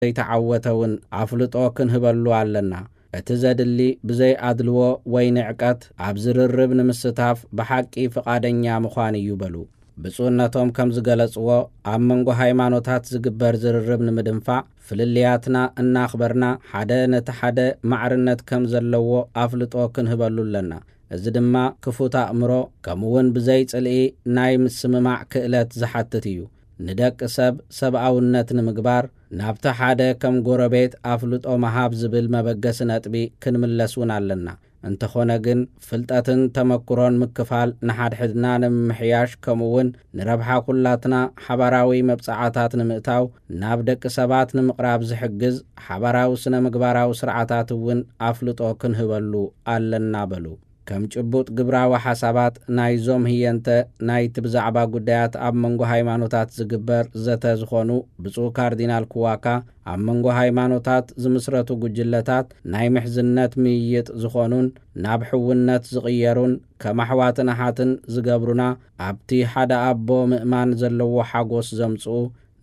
ዘይተዓወተ እውን ኣፍልጦ ክንህበሉ ኣለና። እቲ ዘድሊ ብዘይ ኣድልዎ ወይ ንዕቀት ኣብ ዝርርብ ንምስታፍ ብሓቂ ፍቓደኛ ምዃን እዩ በሉ። ብፁዕነቶም ከም ዝገለጽዎ፣ ኣብ መንጎ ሃይማኖታት ዝግበር ዝርርብ ንምድንፋዕ ፍልልያትና እናኽበርና ሓደ ነቲ ሓደ ማዕርነት ከም ዘለዎ ኣፍልጦ ክንህበሉ ኣለና። እዚ ድማ ክፉት ኣእምሮ ከምኡውን ብዘይ ጽልኢ ናይ ምስምማዕ ክእለት ዝሓትት እዩ። ንደቂ ሰብ ሰብኣውነት ንምግባር ናብቲ ሓደ ከም ጎረቤት ኣፍልጦ ምሃብ ዝብል መበገሲ ነጥቢ ክንምለስ እውን ኣለና። እንተኾነ ግን ፍልጠትን ተመክሮን ምክፋል ንሓድሕድና ንምምሕያሽ ከምኡውን ንረብሓ ኩላትና ሓባራዊ መብጽዓታት ንምእታው ናብ ደቂ ሰባት ንምቕራብ ዝሕግዝ ሓባራዊ ስነ ምግባራዊ ስርዓታት እውን ኣፍልጦ ክንህበሉ ኣለና በሉ። ከም ጭቡጥ ግብራዊ ሓሳባት ናይዞም ህየንተ ናይቲ ብዛዕባ ጉዳያት ኣብ መንጎ ሃይማኖታት ዝግበር ዘተ ዝኾኑ ብፁዕ ካርዲናል ኩዋካ፣ ኣብ መንጎ ሃይማኖታት ዝምስረቱ ጉጅለታት ናይ ምሕዝነት ምይይጥ ዝኾኑን ናብ ሕውነት ዝቕየሩን ከም ኣሕዋትን ኣሓትን ዝገብሩና ኣብቲ ሓደ ኣቦ ምእማን ዘለዎ ሓጎስ ዘምጽኡ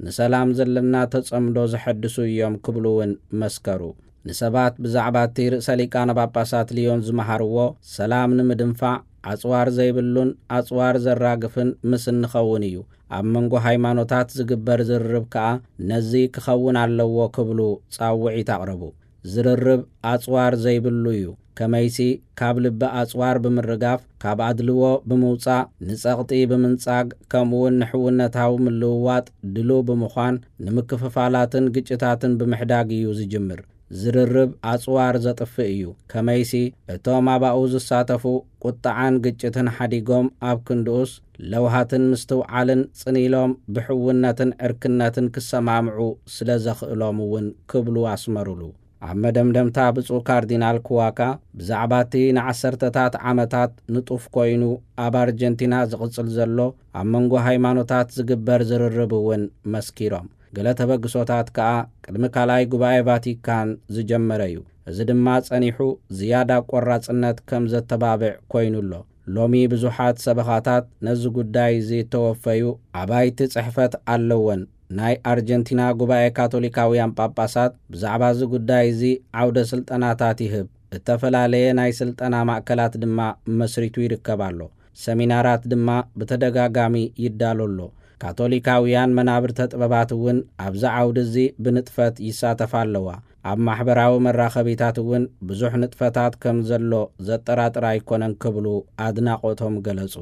ንሰላም ዘለና ተጸምዶ ዘሐድሱ እዮም ክብሉ እውን መስከሩ። ንሰባት ብዛዕባ እቲ ርእሰ ሊቃነ ጳጳሳት ልዮን ዝመሃርዎ ሰላም ንምድንፋዕ ኣጽዋር ዘይብሉን ኣጽዋር ዘራግፍን ምስ እንኸውን እዩ። ኣብ መንጎ ሃይማኖታት ዝግበር ዝርርብ ከኣ ነዚ ክኸውን ኣለዎ ክብሉ ጻውዒት ኣቕረቡ። ዝርርብ ኣጽዋር ዘይብሉ እዩ። ከመይሲ ካብ ልቢ ኣጽዋር ብምርጋፍ፣ ካብ ኣድልዎ ብምውጻእ፣ ንጸቕጢ ብምንጻግ፣ ከምኡውን ንሕውነታዊ ምልውዋጥ ድሉው ብምዃን ንምክፍፋላትን ግጭታትን ብምሕዳግ እዩ ዝጅምር። ዝርርብ ኣጽዋር ዘጥፍእ እዩ። ከመይሲ እቶም ኣባኡ ዝሳተፉ ቁጥዓን ግጭትን ሓዲጎም ኣብ ክንድኡስ ለውሃትን ምስትውዓልን ጽን ኢሎም ብሕውነትን ዕርክነትን ክሰማምዑ ስለ ዘኽእሎም እውን ክብሉ ኣስመሩሉ። ኣብ መደምደምታ ብፁዕ ካርዲናል ኩዋካ ብዛዕባ እቲ ንዓሰርተታት ዓመታት ንጡፍ ኮይኑ ኣብ ኣርጀንቲና ዝቕጽል ዘሎ ኣብ መንጎ ሃይማኖታት ዝግበር ዝርርብ እውን መስኪሮም። ገለ ተበግሶታት ከኣ ቅድሚ ካልኣይ ጉባኤ ቫቲካን ዝጀመረ እዩ። እዚ ድማ ጸኒሑ ዝያዳ ቆራጽነት ከም ዘተባብዕ ኮይኑ ኣሎ። ሎሚ ብዙሓት ሰበኻታት ነዚ ጉዳይ እዚ እተወፈዩ ኣባይቲ ጽሕፈት ኣለወን። ናይ ኣርጀንቲና ጉባኤ ካቶሊካውያን ጳጳሳት ብዛዕባ እዚ ጉዳይ እዚ ዓውደ ስልጠናታት ይህብ። እተፈላለየ ናይ ስልጠና ማእከላት ድማ መስሪቱ ይርከብ ኣሎ። ሰሚናራት ድማ ብተደጋጋሚ ይዳሎ ኣሎ። ካቶሊካውያን መናብርተ ጥበባት እውን ኣብዚ ዓውዲ እዚ ብንጥፈት ይሳተፋ ኣለዋ። ኣብ ማሕበራዊ መራኸቢታት እውን ብዙሕ ንጥፈታት ከም ዘሎ ዘጠራጥር ኣይኮነን ክብሉ ኣድናቖቶም ገለጹ።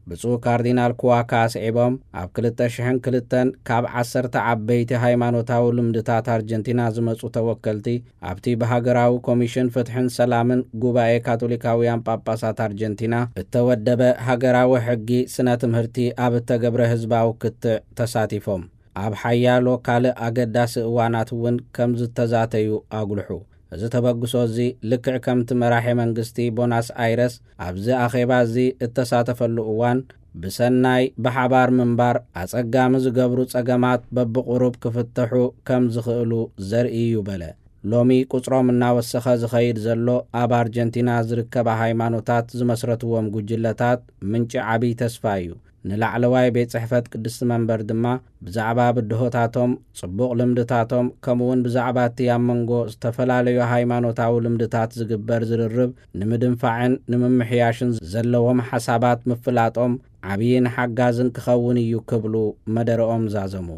ብፁዕ ካርዲናል ኩዋካ ኣስዒቦም፣ ኣብ ክልተ ሽሕን ክልተን ካብ ዓሰርተ ዓበይቲ ሃይማኖታዊ ልምድታት ኣርጀንቲና ዝመጹ ተወከልቲ ኣብቲ ብሃገራዊ ኮሚሽን ፍትሕን ሰላምን ጉባኤ ካቶሊካውያን ጳጳሳት ኣርጀንቲና እተወደበ ሃገራዊ ሕጊ ስነ ትምህርቲ ኣብ እተገብረ ህዝባዊ ክትዕ ተሳቲፎም ኣብ ሓያሎ ካልእ ኣገዳሲ እዋናት እውን ከም ዝተዛተዩ ኣጉልሑ። እዚ ተበግሶ እዚ ልክዕ ከምቲ መራሒ መንግስቲ ቦናስ ኣይረስ ኣብዚ ኣኼባ እዚ እተሳተፈሉ እዋን ብሰናይ ብሓባር ምንባር ኣጸጋሚ ዝገብሩ ጸገማት በብቑሩብ ክፍተሑ ከም ዝኽእሉ ዘርኢ እዩ በለ። ሎሚ ቁጽሮም እናወሰኸ ዝኸይድ ዘሎ ኣብ ኣርጀንቲና ዝርከባ ሃይማኖታት ዝመስረትዎም ጉጅለታት ምንጪ ዓብዪ ተስፋ እዩ። ንላዕለዋይ ቤት ጽሕፈት ቅድስቲ መንበር ድማ ብዛዕባ ብድሆታቶም፣ ጽቡቕ ልምድታቶም፣ ከምኡውን ብዛዕባ እቲ ኣብ መንጎ ዝተፈላለዩ ሃይማኖታዊ ልምድታት ዝግበር ዝርርብ ንምድንፋዕን ንምምሕያሽን ዘለዎም ሓሳባት ምፍላጦም ዓብይን ሓጋዝን ክኸውን እዩ ክብሉ መደረኦም ዛዘሙ።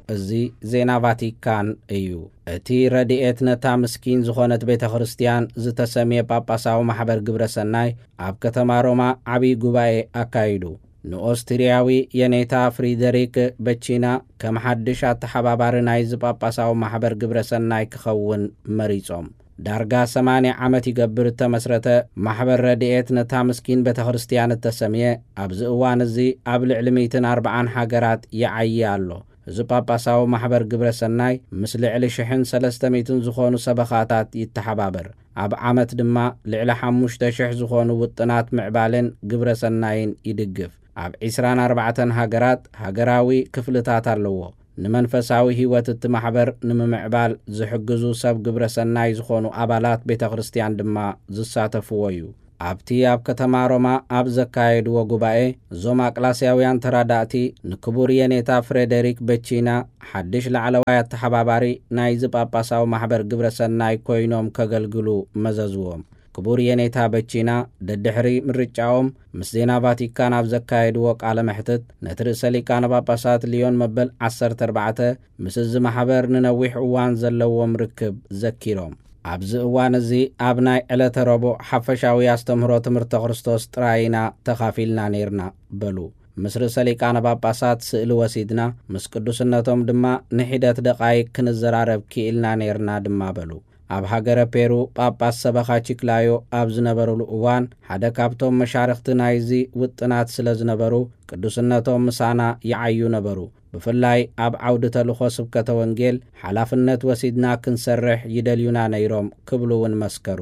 እዚ ዜና ቫቲካን እዩ። እቲ ረድኤት ነታ ምስኪን ዝኾነት ቤተ ክርስቲያን ዝተሰምየ ጳጳሳዊ ማሕበር ግብረ ሰናይ ኣብ ከተማ ሮማ ዓብዪ ጉባኤ ኣካይዱ። ንኦስትርያዊ የኔታ ፍሪደሪክ በቺና ከም ሓድሽ ኣተሓባባሪ ናይዚ ጳጳሳዊ ማሕበር ግብረ ሰናይ ክኸውን መሪጾም። ዳርጋ ሰማንያ ዓመት ይገብር እተመስረተ ማሕበር ረድኤት ነታ ምስኪን ቤተ ክርስቲያን እተሰምየ ኣብዚ እዋን እዚ ኣብ ልዕሊ ሚእትን ኣርብዓን ሃገራት ይዓዪ ኣሎ። እዚ ጳጳሳዊ ማሕበር ግብረ ሰናይ ምስ ልዕሊ ሽሕን ሰለስተ ሚእትን ዝኾኑ ሰበኻታት ይተሓባበር። ኣብ ዓመት ድማ ልዕሊ ሓሙሽተ ሽሕ ዝኾኑ ውጥናት ምዕባለን ግብረ ሰናይን ይድግፍ። ኣብ ዒስራን ኣርባዕተን ሃገራት ሃገራዊ ክፍልታት ኣለዎ። ንመንፈሳዊ ህይወት እቲ ማሕበር ንምምዕባል ዝሕግዙ ሰብ ግብረ ሰናይ ዝኾኑ ኣባላት ቤተ ክርስቲያን ድማ ዝሳተፍዎ እዩ። ኣብቲ ኣብ ከተማ ሮማ ኣብ ዘካየድዎ ጉባኤ፣ እዞም ኣቅላስያውያን ተራዳእቲ ንክቡር የኔታ ፍሬደሪክ በቺና፣ ሓድሽ ላዕለዋይ ኣተሓባባሪ ናይዚ ጳጳሳዊ ማሕበር ግብረ ሰናይ ኮይኖም ከገልግሉ መዘዝዎም። ክቡር የኔታ በቺና፣ ደድሕሪ ምርጫኦም ምስ ዜና ቫቲካን ኣብ ዘካየድዎ ቃለ መሕትት፣ ነቲ ርእሰ ሊቃነ ጳጳሳት ሊዮን መበል ዓሰርተ ኣርባዕተ ምስ እዚ ማሕበር ንነዊሕ እዋን ዘለዎም ርክብ ዘኪሮም፣ ኣብዚ እዋን እዚ ኣብ ናይ ዕለተ ረቡዕ ሓፈሻዊ ኣስተምህሮ ትምህርተ ክርስቶስ ጥራይ ኢና ተኻፊልና ነይርና በሉ። ምስ ርእሰ ሊቃነ ጳጳሳት ስእሊ ወሲድና፣ ምስ ቅዱስነቶም ድማ ንሒደት ደቓይቅ ክንዘራረብ ክኢልና ነይርና ድማ በሉ። ኣብ ሃገረ ፔሩ ጳጳስ ሰበኻ ቺክላዮ ኣብ ዝነበሩሉ እዋን፣ ሓደ ካብቶም መሻርኽቲ ናይዚ ውጥናት ስለ ዝነበሩ፣ ቅዱስነቶም ምሳና ይዓዩ ነበሩ። ብፍላይ ኣብ ዓውዲ ተልእኾ ስብከተ ወንጌል ሓላፍነት ወሲድና ክንሰርሕ ይደልዩና ነይሮም ክብሉ እውን መስከሩ።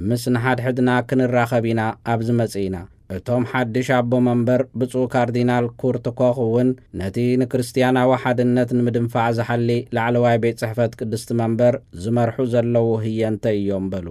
ምስ ንሓድሕድና ክንራኸብ ኢና ኣብዚ መጺእና። እቶም ሓድሽ ኣቦ መንበር ብፁዕ ካርዲናል ኩርት ኮኽ እውን ነቲ ንክርስትያናዊ ሓድነት ንምድንፋዕ ዝሓሊ ላዕለዋይ ቤት ጽሕፈት ቅድስቲ መንበር ዝመርሑ ዘለዉ ህየንተ እዮም በሉ።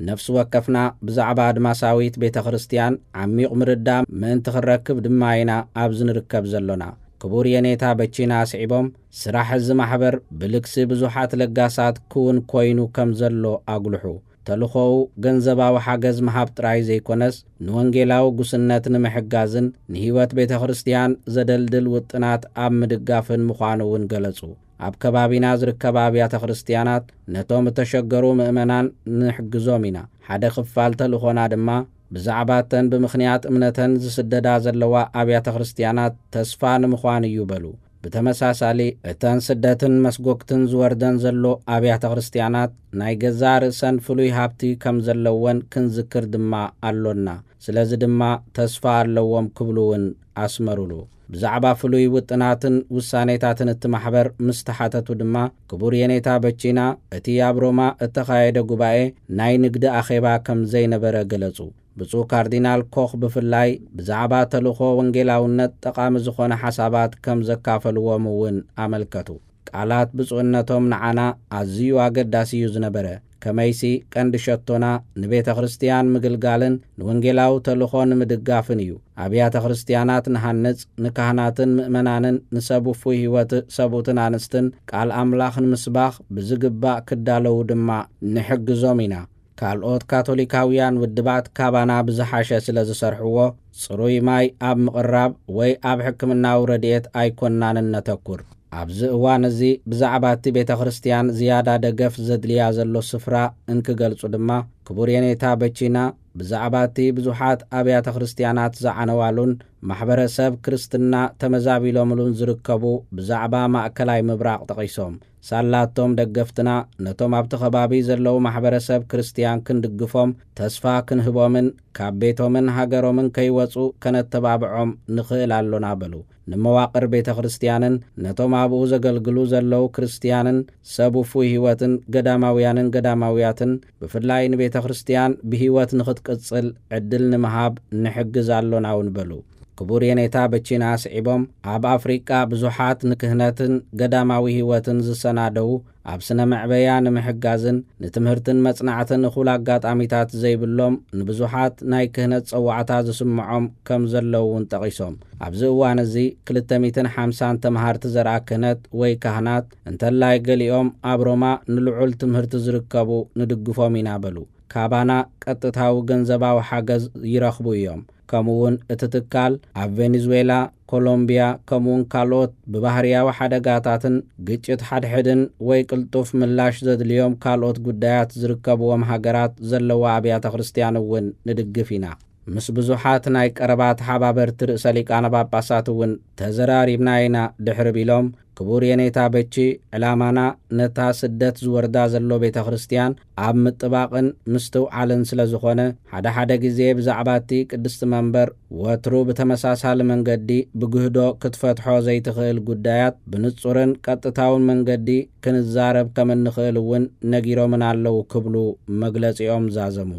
ነፍሲ ወከፍና ብዛዕባ ኣድማሳዊት ቤተ ክርስትያን ዓሚቕ ምርዳእ ምእንቲ ክንረክብ ድማ ኢና ኣብዚ ንርከብ ዘሎና። ክቡር የኔታ በቺና ኣስዒቦም፣ ስራሕ እዚ ማሕበር ብልግሲ ብዙሓት ለጋሳት ክውን ኮይኑ ከም ዘሎ ኣጉልሑ። ተልእኾኡ ገንዘባዊ ሓገዝ ምሃብ ጥራይ ዘይኮነስ፣ ንወንጌላዊ ጉስነት ንምሕጋዝን ንህይወት ቤተ ክርስትያን ዘደልድል ውጥናት ኣብ ምድጋፍን ምዃኑ እውን ገለጹ። ኣብ ከባቢና ዝርከባ ኣብያተ ክርስትያናት ነቶም እተሸገሩ ምእመናን ንሕግዞም ኢና። ሓደ ክፋል ተልእኾና ድማ ብዛዕባ እተን ብምኽንያት እምነተን ዝስደዳ ዘለዋ ኣብያተ ክርስትያናት ተስፋ ንምዃን እዩ በሉ። ብተመሳሳሊ፣ እተን ስደትን መስጎግትን ዝወርደን ዘሎ ኣብያተ ክርስትያናት ናይ ገዛእ ርእሰን ፍሉይ ሃብቲ ከም ዘለወን ክንዝክር ድማ ኣሎና። ስለዚ ድማ ተስፋ ኣለዎም ክብሉ እውን ኣስመሩሉ። ብዛዕባ ፍሉይ ውጥናትን ውሳኔታትን እቲ ማሕበር ምስ ተሓተቱ ድማ፣ ክቡር የኔታ በቺና እቲ ኣብ ሮማ እተኻየደ ጉባኤ ናይ ንግዲ ኣኼባ ከም ዘይነበረ ገለጹ። ብፁዕ ካርዲናል ኮኽ ብፍላይ ብዛዕባ ተልእኾ ወንጌላውነት ጠቓሚ ዝኾነ ሓሳባት ከም ዘካፈልዎም እውን ኣመልከቱ። ቃላት ብፁዕነቶም ንዓና ኣዝዩ ኣገዳሲ እዩ ዝነበረ። ከመይሲ ቀንዲ ሸቶና ንቤተ ክርስትያን ምግልጋልን ንወንጌላዊ ተልእኾ ንምድጋፍን እዩ። ኣብያተ ክርስትያናት ንሃንጽ፣ ንካህናትን ምእመናንን ንሰብ ውፉይ ህይወት ሰብኡትን ኣንስትን ቃል ኣምላኽ ንምስባኽ ብዝግባእ ክዳለዉ ድማ ንሕግዞም ኢና። ካልኦት ካቶሊካውያን ውድባት ካባና ብዝሓሸ ስለ ዝሰርሕዎ፣ ጽሩይ ማይ ኣብ ምቕራብ ወይ ኣብ ሕክምናዊ ረድኤት ኣይኮንናን እነተኩር። ኣብዚ እዋን እዚ ብዛዕባ እቲ ቤተ ክርስትያን ዝያዳ ደገፍ ዘድልያ ዘሎ ስፍራ እንክገልጹ ድማ፣ ክቡር የኔታ በቺና ብዛዕባ እቲ ብዙሓት ኣብያተ ክርስትያናት ዝዓነዋሉን ማሕበረሰብ ክርስትና ተመዛቢሎምሉን ዝርከቡ ብዛዕባ ማእከላይ ምብራቕ ጠቒሶም፣ ሳላቶም ደገፍትና ነቶም ኣብቲ ከባቢ ዘለዉ ማሕበረሰብ ክርስትያን ክንድግፎም፣ ተስፋ ክንህቦምን ካብ ቤቶምን ሃገሮምን ከይወጹ ከነተባብዖም ንኽእል ኣሎና በሉ። ንመዋቕር ቤተ ክርስትያንን ነቶም ኣብኡ ዘገልግሉ ዘለዉ ክርስትያንን ሰብ ውፉይ ህይወትን ገዳማውያንን ገዳማውያትን ብፍላይ ንቤተ ክርስትያን ብህይወት ንኽትቅጽል ዕድል ንምሃብ ንሕግዝ ኣሎና እውን በሉ። ክቡር የኔታ በቺና ኣስዒቦም፣ ኣብ ኣፍሪቃ ብዙሓት ንክህነትን ገዳማዊ ህይወትን ዝሰናደዉ ኣብ ስነ መዕበያ ንምሕጋዝን ንትምህርትን መጽናዕትን እኹል ኣጋጣሚታት ዘይብሎም ንብዙሓት ናይ ክህነት ጸዋዕታ ዝስምዖም ከም ዘለዉ እውን ጠቒሶም፣ ኣብዚ እዋን እዚ ክልተ ሚእትን ሓምሳን ተምሃርቲ ዘርኣ ክህነት ወይ ካህናት፣ እንተላይ ገሊኦም ኣብ ሮማ ንልዑል ትምህርቲ ዝርከቡ፣ ንድግፎም ኢና በሉ። ካባና ቀጥታዊ ገንዘባዊ ሓገዝ ይረኽቡ እዮም። ከምኡውን እቲ ትካል ኣብ ቬኔዙዌላ፣ ኮሎምቢያ፣ ከምኡውን ካልኦት ብባህርያዊ ሓደጋታትን ግጭት ሓድሕድን ወይ ቅልጡፍ ምላሽ ዘድልዮም ካልኦት ጉዳያት ዝርከብዎም ሃገራት ዘለዋ ኣብያተ ክርስትያን እውን ንድግፍ ኢና። ምስ ብዙሓት ናይ ቀረባ ተሓባበርቲ ርእሰ ሊቃነ ጳጳሳት እውን ተዘራሪብና ኢና ድሕሪ ቢሎም፣ ክቡር የኔታ በቺ፣ ዕላማና ነታ ስደት ዝወርዳ ዘሎ ቤተ ክርስትያን ኣብ ምጥባቕን ምስትውዓልን ስለ ዝኾነ፣ ሓደ ሓደ ግዜ ብዛዕባ እቲ ቅድስቲ መንበር ወትሩ ብተመሳሳሊ መንገዲ ብግህዶ ክትፈትሖ ዘይትኽእል ጉዳያት ብንጹርን ቀጥታውን መንገዲ ክንዛረብ ከም እንኽእል እውን ነጊሮምና ኣለዉ ክብሉ መግለጺኦም ዛዘሙ።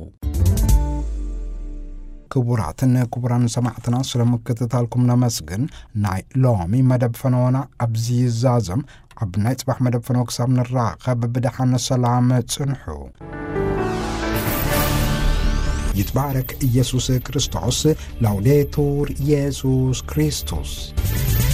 ክቡራትን ክቡራን ሰማዕትና፣ ስለ ምክትታልኩም ነመስግን። ናይ ሎሚ መደብ ፈነወና ኣብዚ ይዛዘም። ኣብ ናይ ጽባሕ መደብ ፈነወ ክሳብ ንራኸብ ብደሓን ሰላም ጽንሑ። ይትባረክ ኢየሱስ ክርስቶስ። ላውዴቱር ኢየሱስ ክርስቶስ።